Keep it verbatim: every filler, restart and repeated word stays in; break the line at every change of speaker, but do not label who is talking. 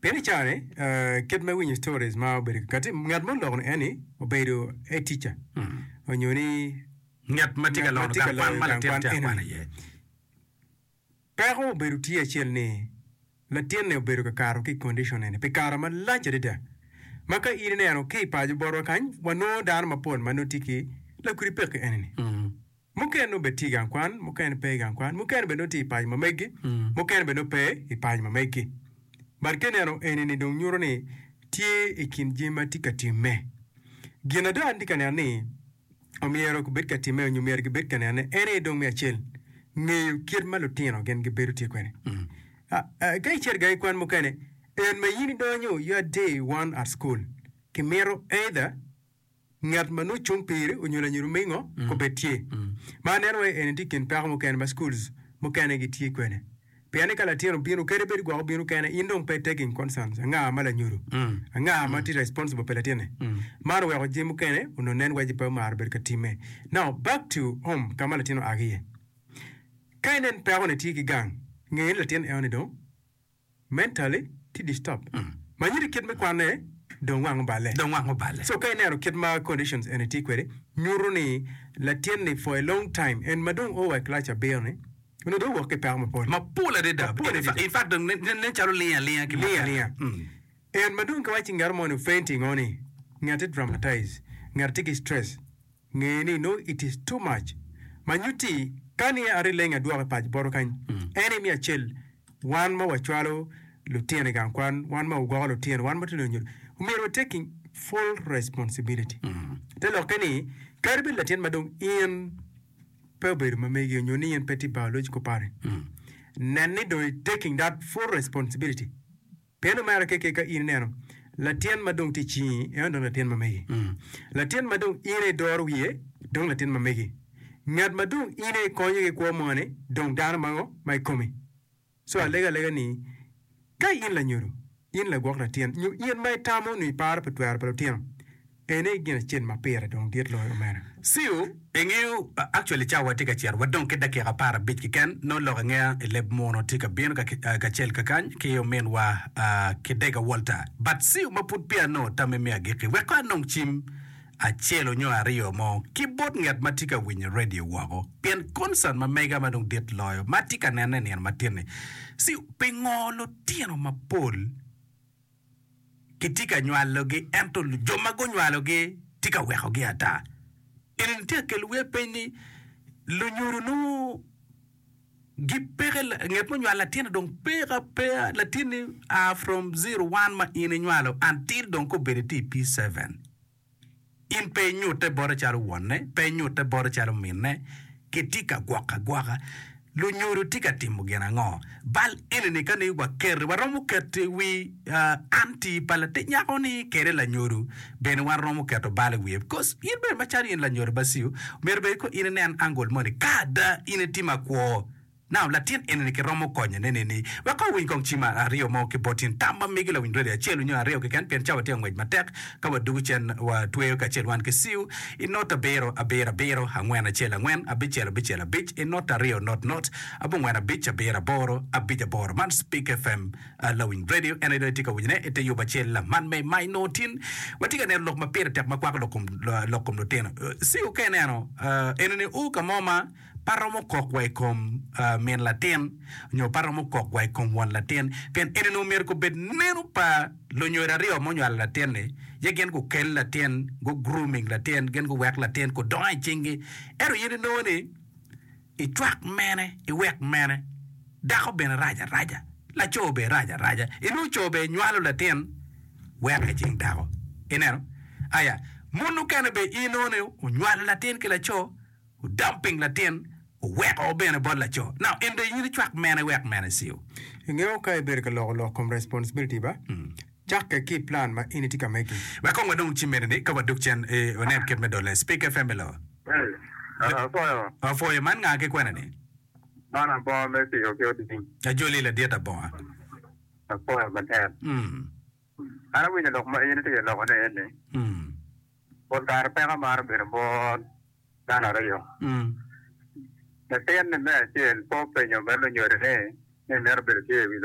Pien i caa-ni, eh, kit me winyo stories ma obedo kati, ngat mo oloko ni eni obedo a teacher onyo ni
Ngat ma tye ka
ngat ma
lono
tye ka
gang kwan
loyo
ma
gang
latin
kwan
tye akwana
eni.
iye.
Peko obedo tye acel ni latinni obedo ka kato ki i condition eni pi kare malac adada. Ma ka in ineno ki i paco botwa kany, wanongo dano mapol ma nongo tye ki lakudi peki eni-ni. Mukene nongo bene tye i gang kwan, mukene pe i gang kwan, mukene bene nongo tye i paco ma megi, mukene bene nongo pe i paco ma megi. But ka ineno eni-ni dong nyuto ni tye i kin jami ma tye ka timme. Gin ada an tye ka neno ni omyero gubed ka timme nyo myero gibed ka nenone en aye dong me acel, ngeyo kit ma lutino gin gibedo tye kwede. Ah, ah, ka icito i gangi kwan mukene, en ma in idonyo your day one at school, kimito either ngat ma nongo cung piri onyo lanyodo mingo obed tye. Ma aneno wai eni tye i kin peko mukene ma schools mukene gitye kwede. Pien ni ka latin obino kadi bed gwok obino kene in dong pe taking concerns anga ma lanyodo, anga ma tye responsible pi latinne. Man oweko jami mukene onongo nen waci pe omaro bedo ka timme. Now back to home ka ma latin oa ki iye. Ka inen peko ni tye ki gang, nge ni latin eno ni dong mentally tye disturbed. Ma nyuto kit me kwanne dong wang oballe.
Dong wang oballe.
So ka ineno kit ma conditions eni tye kwede, nyuto ni latin ni for a long time en ma dong o wa i class abiro ni onongo dong owok ki peko mapol.
Mapol adada.
Mapol
In
adada.
in fact dong nen nen calo lingo alinga ki
Lingo
mukene.
alinga.
Mm.
En ma dong ka waci ngat mo ni fainting o ni ngati dramatize, ngati tye ki stress, nge ni no it is too much. Ma nyutti ka ni ari leng adwoko i paco botwa kany, en aye me acel wan ma wacwalo lutino i gang kwan, wan ma wagwoko lutino, wan ma tye lunyodo, omyero wa taking full responsibility. Te lokke ni kadi bed latin ma dong in pe obedo ma megi onyo ni in pe tye biological parent, nen ni dong i taking that full responsibility. Pien omera keke ka in ineno latin ma dong tye i cingi, en dong latin ma megi. Latin ma dong in aye idoro wiye, dong latin ma megi. Ngat ma dong in aye ikonyo ki kwo moni, dong dano ma ngo ma i komi. So alego alega ni, ka in lanyodo, in lagwok latin, nyo in ma itamo nyo iparo pi twero pa lutino, ene aye gin acel ma pire dong dit loyo omera.
Ciu, ingeyo, actually cawa tye ka cito, wadong ki dakika apar abic keken, nongo lok angeya i leb muno tye ka bino kacel kakany ki ominwa Kidega Walter. But ciu ma pud peya anongo tamme me agikki, wek kong anong cim acel onyo aryo mo ki bot ngat ma tye ka winyo radio woko, pien concern ma mega ma dong dit loyo ma atye ka nene i nino matin-ni. Ciu, pingo lutino mapol kitye ka nywalogi ento jo ma gunywalogi tye ka wekogi ata. Eni tye ka kelo wiya peny ni lunyodo nongo gipeke nget ma onywalo latinne dong peke apeya latinni a from zero one ma in inywalo until dong ka obedo tye i P seven. In pe inyutte bote calo wonne, pe inyutte bote calo minne, kitye ka gwoko agwoka. Lunyodo tye ka timo gin ango? Bal eni-ni ka ni waketo, waromo keto i wi anti pa latin nyako-ni kede lanyodo bene wan romo keto bal i wiye. Because in bene macalo in lanyodo Baciu, myero bed ko in inen angle moni ka ada in itimo akwo. Now, latin eni-ni kiromo konyo ne nini? Wek kong owiny kong cim aryo mo ki bot in. Tam ma megi lawiny radio acel onyo aryo keken pien cawa tye ka ngwec matek. Ka wadugo cen wa tweyo kacel wan ki CU i not abiro abiro abiro angwen acel angwen abicel abicel abic i not aryo not not abongwen abic abiro aboro abic aboro. Man Speak FM lawiny radio en aye dong itye ka winyone i te yub acel man me ma inongo tin. Watye ka neno lok ma pire tek ma kwako lok kom lok kom lutino. CU ka ineno eni-ni o ka mo ma Pe aromo kok wa i kom min latin, nyo pe aromo kok wa i kom won latin, pien eni onongo myero gubed neno pa lunyodo aryo ma onywalo latin-ni, ye gin gukel latin, gu grooming latin, gin guwek latin gudongo i cinggi. Ento in inongo ni icwak mene, iwek mene, dako bene rac araca, laco bene rac araca, inongo co bene nywalo latin weko i cing dako. Ineno? Aya, mon mukene bene inongo ni onywalo latin ki laco, Odumping latin oweko bene bot laco. Now en dong in icwak mene wek mene ciu.
Ingeyo ka ibedo ka loko lok kom responsibility ba, cakke ki i plan ma in itye ka megi.
Wek kong wadong ci mene ni ka wadok cen eh, wanen kit me dole. Speak FM hello.
Hey, apwoyo.
Apwoyo man nga ki kwena ni?
Man abonga me tiyo ki oding.
Ajoli ladit abonga.
Apwoyo matek.
Mm.
An awinyo lok ma in itye ka loko ne eni.
Mm.
Pol kare peko maro bedo bot dano aryo. Latin-ni me acel pe openyo bot lunyodone ni mito bedo tye i wi